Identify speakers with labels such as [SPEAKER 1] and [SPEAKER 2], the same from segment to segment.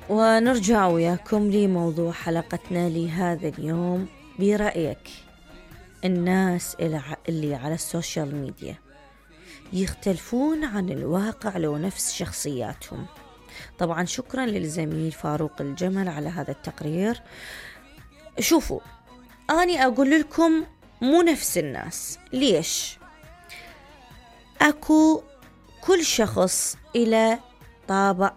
[SPEAKER 1] ونرجع وياكم لموضوع حلقتنا لهذا اليوم. برأيك الناس اللي على السوشيال ميديا يختلفون عن الواقع لو نفس شخصياتهم؟ طبعا شكرا للزميل فاروق الجمل على هذا التقرير. شوفوا، أنا أقول لكم مو نفس الناس. ليش؟ أكو كل شخص إلى طابع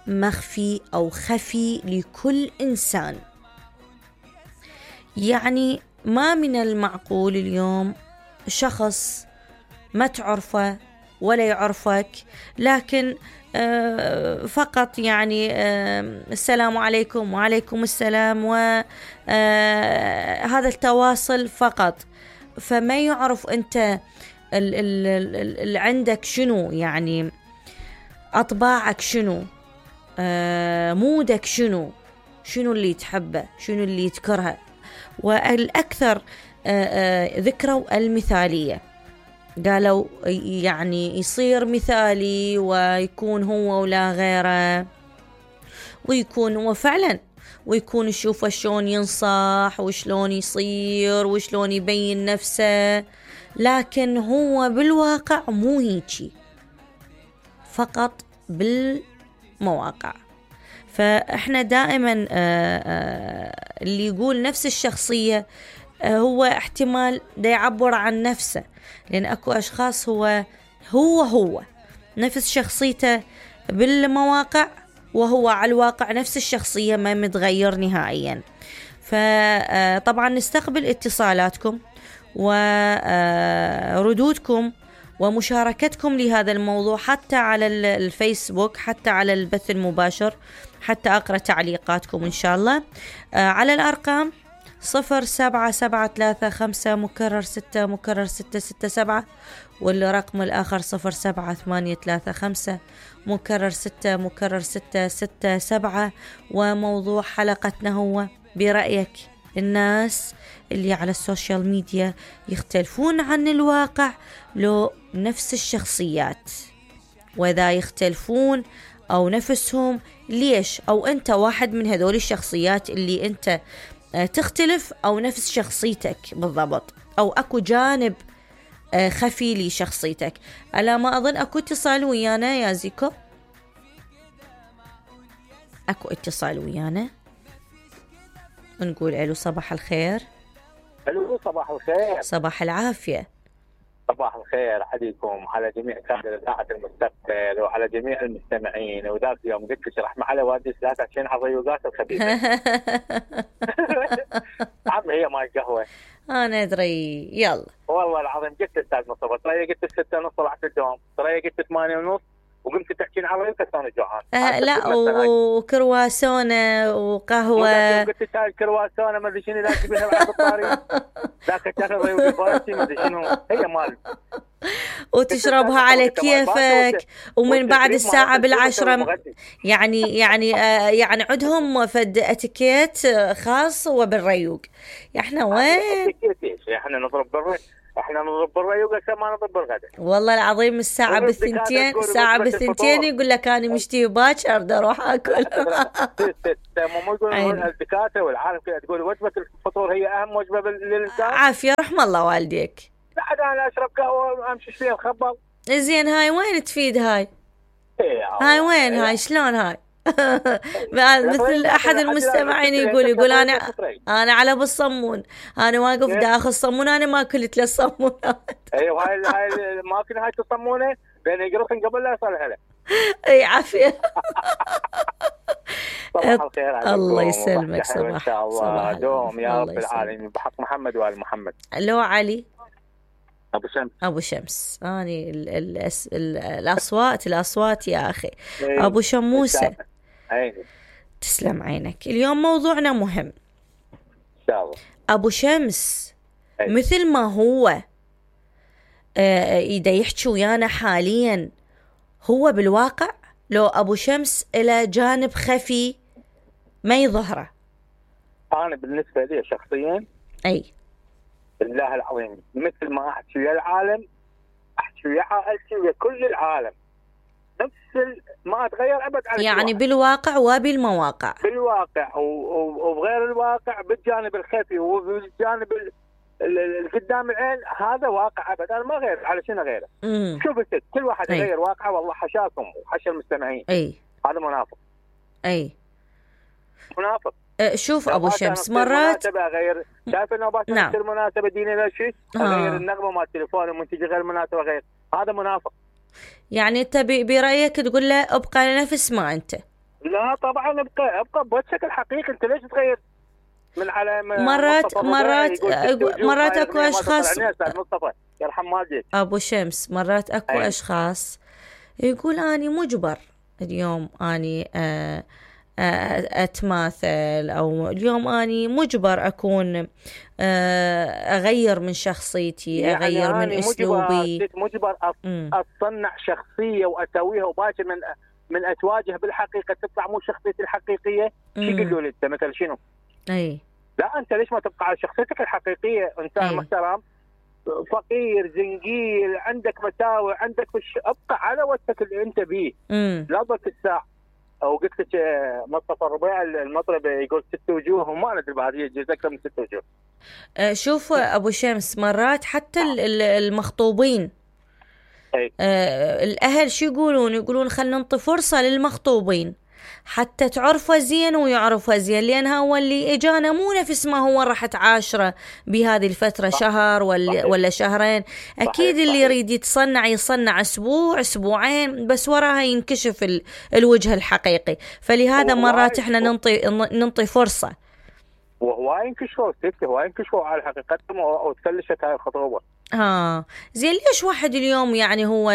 [SPEAKER 1] مخفي أو خفي لكل إنسان. يعني ما من المعقول اليوم شخص ما تعرفه ولا يعرفك، لكن فقط يعني السلام عليكم وعليكم السلام، وهذا التواصل فقط، فما يعرف أنت اللي عندك شنو، يعني أطباعك شنو، مودك شنو اللي تحبه، شنو اللي تكرهه. والأكثر ذكروا المثالية، قالوا يعني يصير مثالي ويكون هو ولا غيره، ويكون هو فعلا، ويكون يشوفه شلون ينصح وشلون يصير وشلون يبين نفسه، لكن هو بالواقع مو هيجي، فقط بالمواقع. فإحنا دائما اللي يقول نفس الشخصية هو احتمال دا يعبر عن نفسه، لأن أكو أشخاص هو نفس شخصيته بالمواقع، وهو على الواقع نفس الشخصية ما متغير نهائيا. فطبعا نستقبل اتصالاتكم وردودكم ومشاركتكم لهذا الموضوع، حتى على الفيسبوك، حتى على البث المباشر، حتى أقرأ تعليقاتكم إن شاء الله على الأرقام 077335 والرقم الآخر 07835 وموضوع حلقتنا هو: برأيك الناس اللي على السوشيال ميديا يختلفون عن الواقع لو نفس الشخصيات؟ وإذا يختلفون أو نفسهم ليش؟ أو أنت واحد من هذول الشخصيات اللي أنت تختلف أو نفس شخصيتك بالضبط، أو أكو جانب خفي لشخصيتك. ألا ما أظن أكو اتصال ويانا يا زيكو؟ أكو اتصال ويانا، نقول ألو صباح الخير.
[SPEAKER 2] ألو صباح الخير.
[SPEAKER 1] صباح العافية.
[SPEAKER 2] صباح الخير عليكم، على جميع كادر إذاعة المستقبل وعلى جميع المستمعين. وذاك يوم قلت تشرح معي وادي ثلاثة عشان على الريوقات الخبيثة. عم هي ماي قهوة.
[SPEAKER 1] أنا أدري. يلا
[SPEAKER 2] والله العظيم قلت أستاذ مصطفى، ترى قلت 6:30 طلعت الدوام، ترى قلت 8:30 وقمت تحكين على الريوقات أنا جوعان.
[SPEAKER 1] لا، وكرواسونة وقهوة.
[SPEAKER 2] قلت هاي الكرواسونة ما أدري شنو لا تجيبها بعد الطريق. ذاك تاخذ ريوقي فارسي ما أدري شنو هي مال.
[SPEAKER 1] وتشربها على كيفك، ومن بعد الساعة 10 يعني عندهم فد اتيكيت خاص وبالريوق. احنا وين؟
[SPEAKER 2] احنا نضرب بالريوق عشان ما نضرب بالغداء.
[SPEAKER 1] والله العظيم الساعة بالثنتين يقول لك أنا مشتي باكر بدي أروح أكل.
[SPEAKER 2] مو يقولون الدكاترة والعالم كذا تقول وجبة الفطور هي أهم وجبة للإنسان.
[SPEAKER 1] عافية رحم الله والديك.
[SPEAKER 2] بعد أنا أشرب قهوة وأمشي فيها الخبر.
[SPEAKER 1] زين هاي وين تفيد هاي؟ وين هاي شلون هاي؟ مثل أحد المستمعين يقول أنا على بالصمون، أنا واقف داخل الصمون، أنا ما أكلت للصمونات.
[SPEAKER 2] أيوة هاي ما أكل هاي الصمونة بين يقرصن قبل لا يصلح له.
[SPEAKER 1] أي عافية.
[SPEAKER 2] صباح الخير عليكم.
[SPEAKER 1] الله يسلمك. صباح
[SPEAKER 2] إن شاء الله دوم يا رب العالمين بحق محمد وآل محمد.
[SPEAKER 1] لو علي
[SPEAKER 2] أبو
[SPEAKER 1] شمس أني الأصوات يا أخي. أبو شموسة تسلم عينك. اليوم موضوعنا مهم. أبو شمس مثل ما هو إذا يحكي ويانا حاليا هو بالواقع لو أبو شمس إلى جانب خفي ما يظهره.
[SPEAKER 2] أنا بالنسبة لي شخصيا بالله العظيم مثل ما أحكي ويا العالم أحكي ويا عائلتي ويا كل العالم. ما اتغير ابد على
[SPEAKER 1] يعني بالواقع وبالمواقع.
[SPEAKER 2] بالواقع وبغير الواقع، بالجانب الخفي وبالجانب قدام العين، هذا واقع ابد. انا ما غير على شنو غيره. شوف الست، كل واحد يغير واقعه، والله حشاكم وحشا المستمعين. هذا منافق. منافق.
[SPEAKER 1] شوف ابو شمس، مرات
[SPEAKER 2] اغير، شايف انه تصير مناسبه دينيه لا شيء، اغير النغمه مال التليفون المنتج غير مناسبه، غير، هذا منافق.
[SPEAKER 1] يعني انت برايك تقول له ابقى نفس ما انت؟
[SPEAKER 2] لا طبعا ابقى بوجهك الحقيقي. انت ليش تغير من على
[SPEAKER 1] مرات اكو اشخاص
[SPEAKER 2] مصطفى يرحم والديك
[SPEAKER 1] ابو شمس، مرات اكو اشخاص يقول اني مجبر اليوم اني اتماثل، او اليوم اني مجبر اكون اغير من شخصيتي،
[SPEAKER 2] يعني
[SPEAKER 1] اغير من اسلوبي،
[SPEAKER 2] مجبر اصنع شخصيه واسويها، وباكر من اتواجه بالحقيقه تطلع مو شخصيتي الحقيقيه. شو يقولوا لي انت مثل شنو؟ لا انت ليش ما تبقى على شخصيتك الحقيقيه؟ انسان محترم، فقير، زنقيل، عندك مساوئ، عندك ابقى على وجهك اللي انت بيه. لا ضلك الساعه. او قلت لك مصطفى الربيع المطرب يقول 6 وجوه، وما ندري بعد يجوز اكثر من 6 وجوه.
[SPEAKER 1] شوف ابو شمس، مرات حتى المخطوبين الاهل شو يقولون خلينا نعطي فرصه للمخطوبين حتى تعرفه زين ويعرفه زين، لان هو اللي اجانا مو نفس ما هو راح تعاشره بهذه الفتره، شهر ولا شهرين. اكيد اللي يريد يصنع اسبوع اسبوعين، بس وراها ينكشف الوجه الحقيقي. فلهذا مرات احنا ننطي فرصه.
[SPEAKER 2] وهو ينكشفوا على حقيقتهم وتفلشت هاي الخطوبه.
[SPEAKER 1] زين، ليش واحد اليوم يعني هو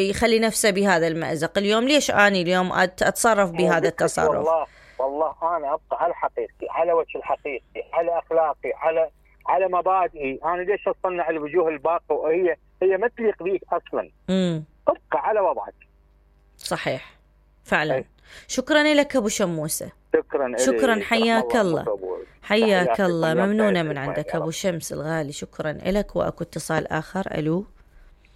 [SPEAKER 1] يخلي نفسه بهذا المأزق؟ اليوم ليش اني اليوم اتصرف بهذا التصرف؟
[SPEAKER 2] والله انا ابقى على حقيقتي، على وجه الحقيقي، على اخلاقي، على مبادئي. انا ليش اصنع الوجوه الباقه وهي ما تليق بيك اصلا؟ ابقى على وضعك.
[SPEAKER 1] صحيح فعلا. شكرا لك ابو شموسه. شكرا حياك الله. حياك الله، ممنونة من عندك أبو شمس الغالي، شكرا لك. وأكو اتصال آخر. ألو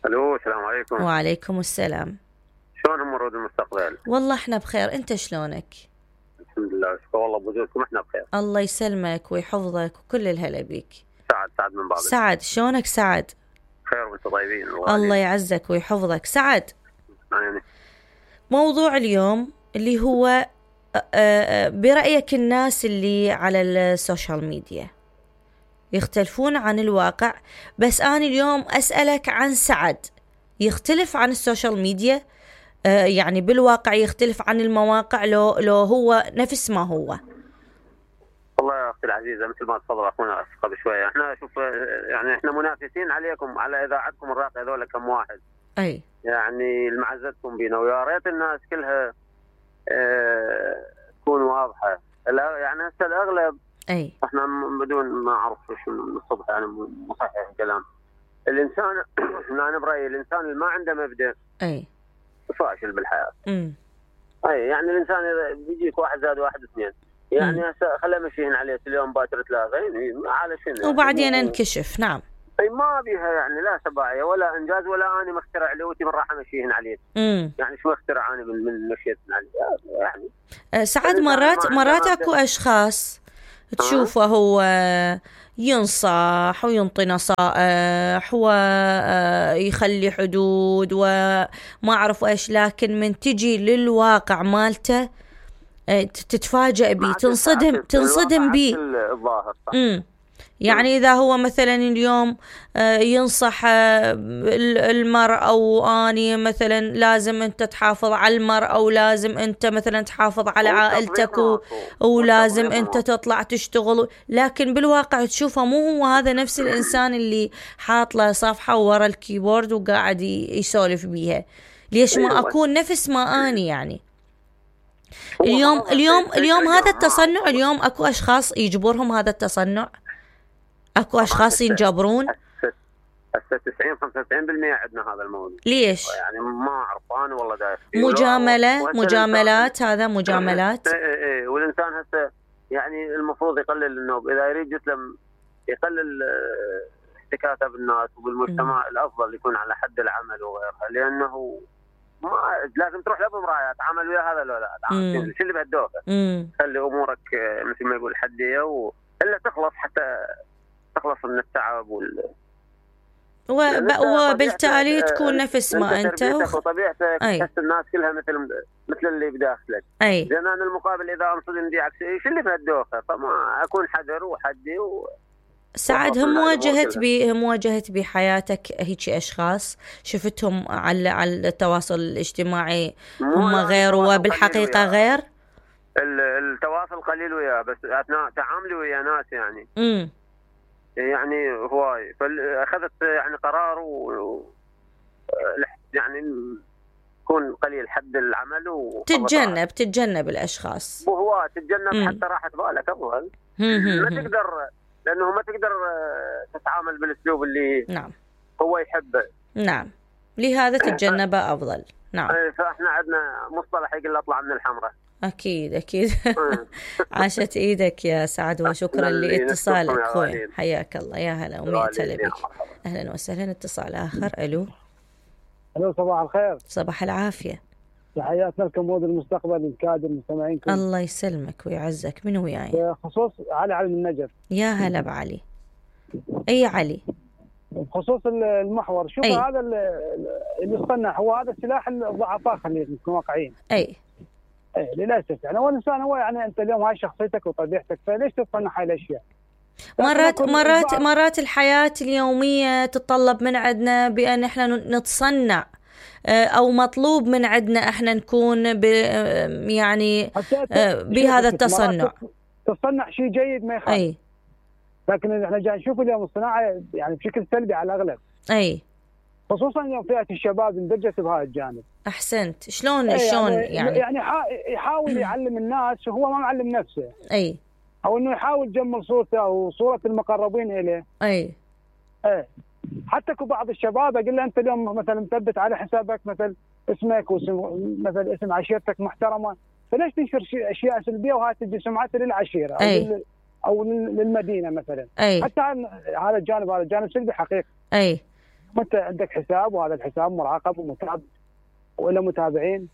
[SPEAKER 2] السلام عليكم.
[SPEAKER 1] وعليكم السلام.
[SPEAKER 2] شلون أمور المستقبل؟
[SPEAKER 1] والله احنا بخير، أنت شلونك؟
[SPEAKER 2] الحمد لله، شكرا والله بوجودكم، احنا بخير.
[SPEAKER 1] الله يسلمك ويحفظك وكل الهلا بيك.
[SPEAKER 2] سعد من بابل.
[SPEAKER 1] سعد، شلونك سعد؟
[SPEAKER 2] خير وانتم طيبين.
[SPEAKER 1] الله يعزك ويحفظك سعد. موضوع اليوم اللي هو برأيك الناس اللي على السوشيال ميديا يختلفون عن الواقع، بس أنا اليوم أسألك عن سعد، يختلف عن السوشيال ميديا؟ يعني بالواقع يختلف عن المواقع لو هو نفس ما هو؟
[SPEAKER 2] والله يا أختي العزيزة، مثل ما تفضل أخونا قبل شوية، احنا شوف يعني احنا منافسين عليكم على إذاعتكم الراقية هذول كم واحد. يعني المعزتكم بينا، ويا ريت الناس كلها تكون واضحة. يعني هسه الأغلب احنا بدون ما أعرف شو من الصبح، يعني مصحح الكلام. الإنسان أنا برأيي الإنسان اللي ما عنده مبدأ فاشل بالحياة. يعني الإنسان إذا بيجيك 1 زائد 1 2، يعني هسه خلينا مشيين عليه اليوم باكر 3 على شنو؟
[SPEAKER 1] وبعدين انكشف. نعم.
[SPEAKER 2] ما بيها يعني لا سباعية ولا إنجاز، ولا أنا مخترع لوتي من راح مشيهن عليه. يعني شو اخترع أنا من مشيت عليه يعني.
[SPEAKER 1] سعد، مرات أكو أشخاص تشوفه هو ينصح وينطي نصائح ويخلي حدود وما أعرف إيش، لكن من تجي للواقع مالته تتفاجأ بيه، تنصدم بيه.
[SPEAKER 2] الظاهر صح.
[SPEAKER 1] يعني إذا هو مثلا اليوم ينصح المرأة، أو أني مثلا لازم أنت تحافظ على المرأة، أو لازم أنت مثلا تحافظ على عائلتك، ولازم أنت تطلع تشتغل، لكن بالواقع تشوفه مو هو هذا نفس الإنسان اللي حاط له صفحة ورا الكيبورد وقاعد يسولف بيها. ليش ما أكون نفس ما أني؟ يعني اليوم هذا التصنع، اليوم أكو أشخاص يجبرهم هذا التصنع، اكو اشخاص ينجبرون.
[SPEAKER 2] هسه 90-95% عندنا هذا الموضوع.
[SPEAKER 1] ليش؟
[SPEAKER 2] يعني ما اعرف انا والله داير
[SPEAKER 1] مجاملات. هذا مجاملات.
[SPEAKER 2] والانسان هسه يعني المفروض يقلل النوب، اذا يريد يسلم يقلل احتكاكه بالناس وبالمجتمع. الافضل يكون على حد العمل وغيرها، لانه
[SPEAKER 3] ما لازم تروح له بمرايه تعامل ويا هذا ولا لا تعامل شو اللي بهالدوخه. خلي امورك مثل ما يقول حديه الا تخلص حتى تخلص من التعب
[SPEAKER 1] وبالتالي تكون نفس ما انت
[SPEAKER 3] وطبيعتك تحس الناس كلها مثل اللي بداخلك. زين انا المقابل اذا انصدم دي عكسي شو اللي بهالدوخه، فما اكون حذر وحدي
[SPEAKER 1] سعد. هم واجهت بحياتك هيك اشخاص شفتهم على التواصل الاجتماعي هم غير وبالحقيقه غير؟
[SPEAKER 3] التواصل قليل وياه، بس اثناء تعاملي ويا ناس يعني هواي، فاخذت يعني قرار يعني يكون قليل حد العمل
[SPEAKER 1] تتجنب الاشخاص
[SPEAKER 3] وهو تتجنب حتى راحة بالك افضل. ما تقدر لانه ما تقدر تتعامل بالاسلوب اللي هو يحبه.
[SPEAKER 1] لهذا تتجنبه افضل.
[SPEAKER 3] فاحنا عندنا مصطلح يقول اطلع من الحمراء.
[SPEAKER 1] أكيد عاشت إيدك يا سعد، وشكرا لاتصالك أخوي. حياك الله، يا هلا ومئة هلا بك. أهلا وسهلا. اتصال آخر. ألو
[SPEAKER 4] صباح الخير.
[SPEAKER 1] صباح العافية.
[SPEAKER 4] تحياتنا لكم مود المستقبل الكادر المستمعينكم.
[SPEAKER 1] الله يسلمك ويعزك. من وياي؟
[SPEAKER 4] بخصوص علي من النجف.
[SPEAKER 1] يا هلا بعلي. أي علي؟
[SPEAKER 4] بخصوص المحور، شوف هذا اللي يصنع هو هذا السلاح الضعفاء، خلينا نكون واقعيين. للاسف يعني هو الانسان هو يعني انت اليوم هاي شخصيتك وطبيعتك، فليش تصنع هاي الاشياء؟
[SPEAKER 1] مرات الحياة اليومية تتطلب من عندنا بأن احنا نتصنع، او مطلوب من عندنا احنا نكون يعني بهذا التصنع.
[SPEAKER 4] تصنع شيء جيد ما يخالف، لكن احنا جاي نشوف اليوم الصناعة يعني بشكل سلبي على الاغلب. خصوصا يوم فئة الشباب اندرجت بهذا الجانب.
[SPEAKER 1] احسنت. شلون يعني
[SPEAKER 4] يحاول يعلم الناس وهو ما معلم نفسه. او انه يحاول يجمل صورته او صورة المقربين اليه. حتى بعض الشباب اقول له انت اليوم مثلا مثبت على حسابك مثل اسمك مثل اسم عشيرتك محترمه، فليش تنشر اشياء سلبيه وهاي تجي سمعتها للعشيره او للمدينه مثلا. حتى هذا الجانب سلبي حقيقي. انت عندك حساب وهذا الحساب مراقب ومتابع ولا متابعين.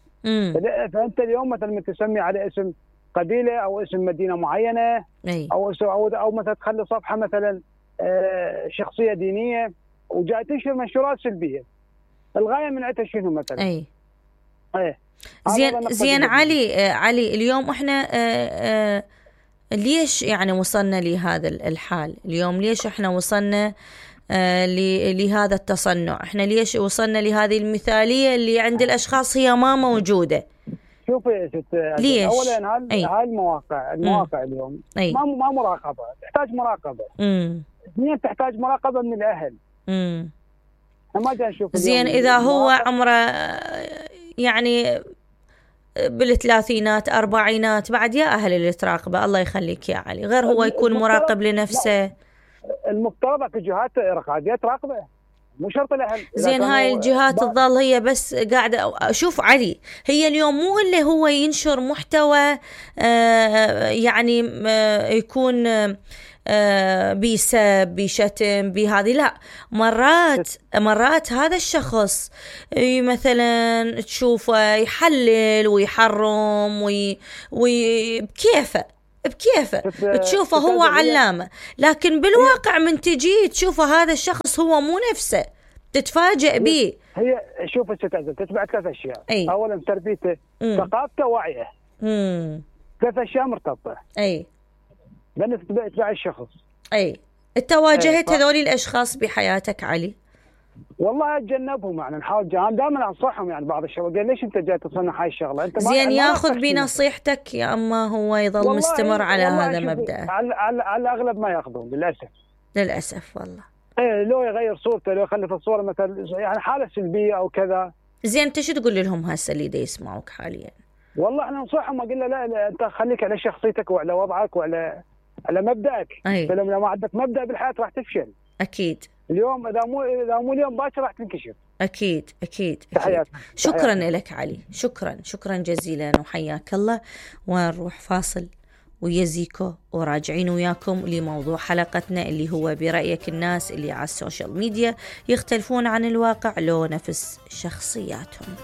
[SPEAKER 4] فانت اليوم مثلا تسمي على اسم قبيله او اسم مدينه معينه او مثلا تخلي صفحه مثلا شخصيه دينيه وجاي تنشر منشورات سلبيه. الغايه من عندها شنو مثلا؟
[SPEAKER 1] زين علي اليوم احنا ليش يعني وصلنا لهذا الحال اليوم؟ ليش احنا وصلنا لهذا التصنع؟ احنا ليش وصلنا لهذه المثالية اللي عند الاشخاص هي ما موجودة؟
[SPEAKER 4] شوفي يا ست، ليش؟ اولا هاي المواقع اليوم ما مراقبة، تحتاج مراقبة. اثنين تحتاج مراقبة من الاهل. ما جاي نشوف
[SPEAKER 1] زين اذا هو عمره يعني بالثلاثينات أربعينات بعد يا أهل اللي تراقبه. الله يخليك يا علي، غير هو يكون مراقب لنفسه.
[SPEAKER 4] المفترض الجهات الرقابية تراقبه، مو شرط الأهل.
[SPEAKER 1] زين هاي الجهات تظل هي بس قاعدة. شوف علي، هي اليوم مو اللي هو ينشر محتوى يعني يكون بيسب بشتم بهذه، لا. مرات هذا الشخص مثلا تشوفه يحلل ويحرم بكيفه تشوفه هو علامة، لكن بالواقع من تجي تشوفه هذا الشخص هو مو نفسه، تتفاجئ به.
[SPEAKER 4] هي شوف تتبع ثلاث أشياء. أولا تربيته، ثقافته، وعيه. 3 أشياء مرتبطة. لأن تتبع الشخص.
[SPEAKER 1] انت واجهت هذول الاشخاص بحياتك علي؟
[SPEAKER 4] والله اتجنبهم، يعني نحاول دائما انصحهم. يعني بعض الشباب قال ليش انت جاي تصنع هاي الشغله؟ انت
[SPEAKER 1] زين ياخذ بنصيحتك يا اما هو يظل مستمر على هذا مبدأه؟
[SPEAKER 4] على الاغلب ما ياخذون
[SPEAKER 1] للاسف والله.
[SPEAKER 4] لو يغير صورته، لو يخلي في الصوره مثلا يعني حاله سلبيه او كذا.
[SPEAKER 1] زين انت شو تقول لهم هسه اللي دا يسمعوك حاليا؟
[SPEAKER 4] والله احنا ننصحهم، اقول له لا انت خليك على شخصيتك وعلى وضعك وعلى مبدأك. فلما ما عندك مبدأ بالحياة راح تفشل.
[SPEAKER 1] أكيد.
[SPEAKER 4] اليوم إذا مو اليوم باكر راح تنكشف.
[SPEAKER 1] أكيد. شكرا لك علي، شكرا جزيلا وحياك الله. ونروح فاصل ويزيكو وراجعين وياكم لموضوع حلقتنا اللي هو برأيك الناس اللي على السوشيال ميديا يختلفون عن الواقع لو نفس شخصياتهم.